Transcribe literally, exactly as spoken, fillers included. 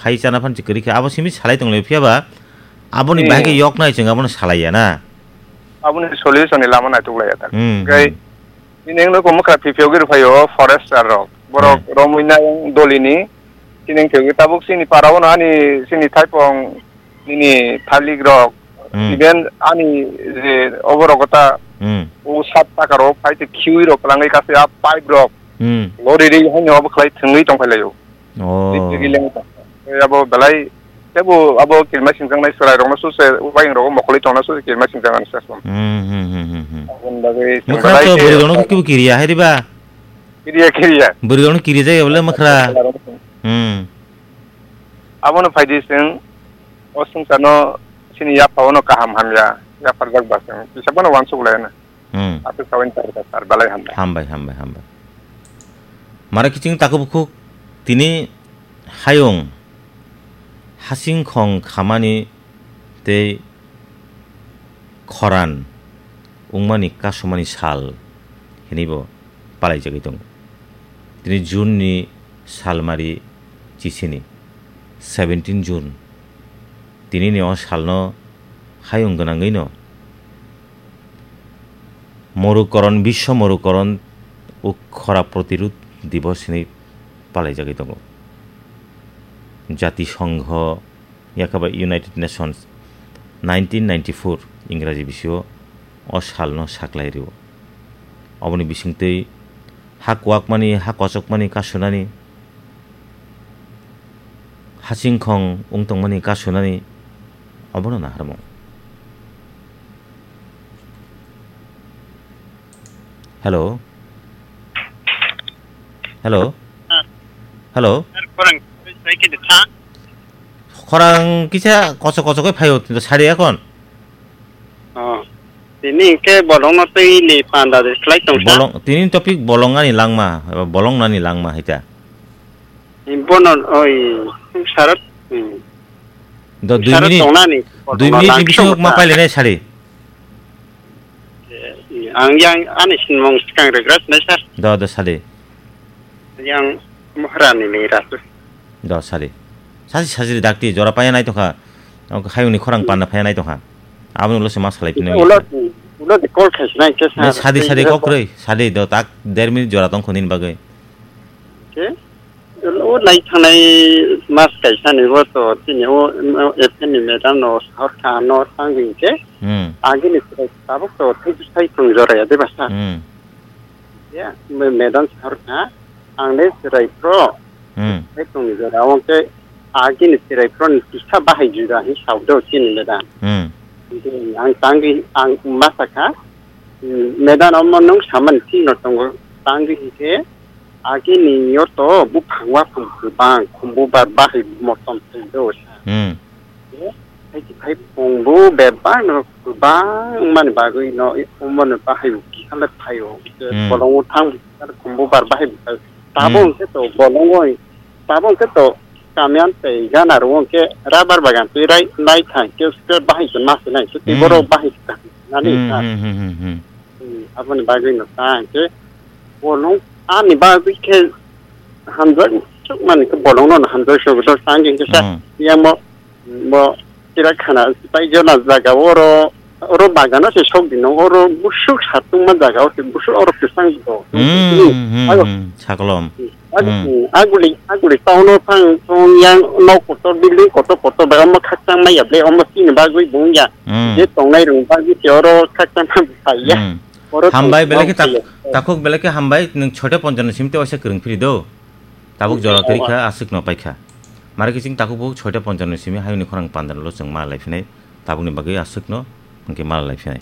khai chana phan se kwrwi kha, abo simi salai tong lai, phiya ba aboni Hmm. bahai khe yok nai chwng abono salai ya na. Aboni solution ni lama naituk lai ya ta. Hmm, Hwnkhe hmm. Nini wngno kok mwkhra phiphiyogwi rwphaio forester rok. Borok Hmm. romwi nai dolini. Chini wngkhe tabuk chini para-o no ani chini thaipong nini thalik rok. Hmm. Even ani je oborok ta Hmm. o sat taka rok phai te khiwi rok kwlangwi kaisa a pipe rok. Hmm. Lori ri haino obo khlai thwngwi tongphai laio. Oh. Ri ri leng ta. Abo belai tebo abo kirima singjaknai chwrairokno suse ubayungrogo mokolwi tongna suse kirima singjak ani sasong. Hmm, hmm, hmm, hmm, hmm. Aboni bagwi Mwkhra belai to khe bwrwi rokno khe kibu kiriya hai riba? Kiriya, kiriya. Bwrwi rokno kiri jaya bole mwkhra. Hmm. Abono phaidi chwng o swngcharno chini yapha-o no kaham hamya yapharjak ba chwng kisa bono uansuk lai na. Hmm. Aswk sawi ni tar belai hambai. Hambai, hambai, hambai. Mara kiching takhuk bukhuk tini hayung hasing khong khamani tei khoran wngmani kasumani sal hinwi bo palaijagwi tongo. Tini June ni salmari chisini, seventeen June. Tinini o salno hayung gwnangwino Morukoron, Biswa Morukoron o khora protirud divos hinwi palaijagwi tongo. Jati Songho, yakaba United Nations nineteen ninety-four Ingraji bisio o salno saklai rio. Oboni bisingtwi ha kwakmani, ha kochokmani kasunani, hasingkhong wng tongmani kasunani obono naharmung. Hello? Hello? Hello? Sir, khorang sai khe tha. Khorang kisa kochok kochok khe phaio, sari akhon. Oh. Tini hwnkhe bolongno twi ni panda de slai tong sa. Bolong, tini topic bolong ani langma, eba bolong nani langma hita. Bono, oi, sarot, hmm. Do dui Sarot minute, tongnani, dui minute ni bisingo ma pailene sari. Eh, ang yang ani sinmung skang regret nai sir. Do, do sari. Yang Mohrani ni rasu. Do sari. Sasi, sasi dakti jora paya nai tongkha. Hayungni khorang panna paya nai tongkha. Aboni ulo se ma salai pini. Ulo, ulo de call khais nai ke sir. Sadi, sadi kok rei, sadi do tak der minute jora tongkho nini bagwi. Ke? O nai thangnai mas kaisa ni bo to tini o, o F N ni madam no sahor kha no tangwi ke. Hmm. Agi ni tabuk to thai thai thung jora ya de basa. Hmm. Ya, me-, madam sahor kha ang le chwrai pro. Hmm. Thai thung ni jora o ke agi ni chwrai pro ni kisa bahai juda hi sao do tini madam. Hmm. Ang tangwi ang masa kha. Hmm, madam omo nung saman thik no tongo tangwi ke. Agi ni yo to buphang waphang kwbang khumbu bar bahai motom thai do sa. Hmm. Hai hai phung bu bebak no kwbang mani bagwi no omo no bahai kisa le phaio. Hmm. Bolong o thang khumbu bar bahai. Tabo Hmm. Hwnkhe to bolong oi. Tabo hwnkhe to kamian tei gana ro hwnkhe rubber bagan twi rai nai thang ke bahai se mas nai. Tei Hmm. Borok bahai se nani Hmm, sa. Hmm, hmm, hmm, hmm. Hmm, aboni bagwi no ta hwnkhe bolong ani bagwi khe hamjak chuk mani khe bolong no hamjak chuk do tang hwnkhe sa Hmm. Yang bo, bo kira khana pai jona jaga oro, oro bagano se sok dino oro busuk satung ma jaga o se busuk oro kisang do. Hmm, hmm, Ayo. Hmm, sakolom. Ag-, Hmm. Aguli, aguli town o thang, thang yang nok kotor, building kotor, kotor, bai omo khakchang maya, ble omo chini bagwi bung ya. Hmm. Je tongnai rung bagwi se oro khakchang ma bai ya. Hmm. Oro Hambai, tong-, belai khe tong-, tak-, takhuk belai khe hambai, nwng soita ponchano simi te waisa kwrwng phiri do. Tabuk jora kwrwi kha, aswk no pai kha. Mara kiching takhuk bo soita ponchano simi hayungni khorang pandano lo chwng ma lai phinai. Tabukni bagwi aswk no, hwnkhe ma lai phinai.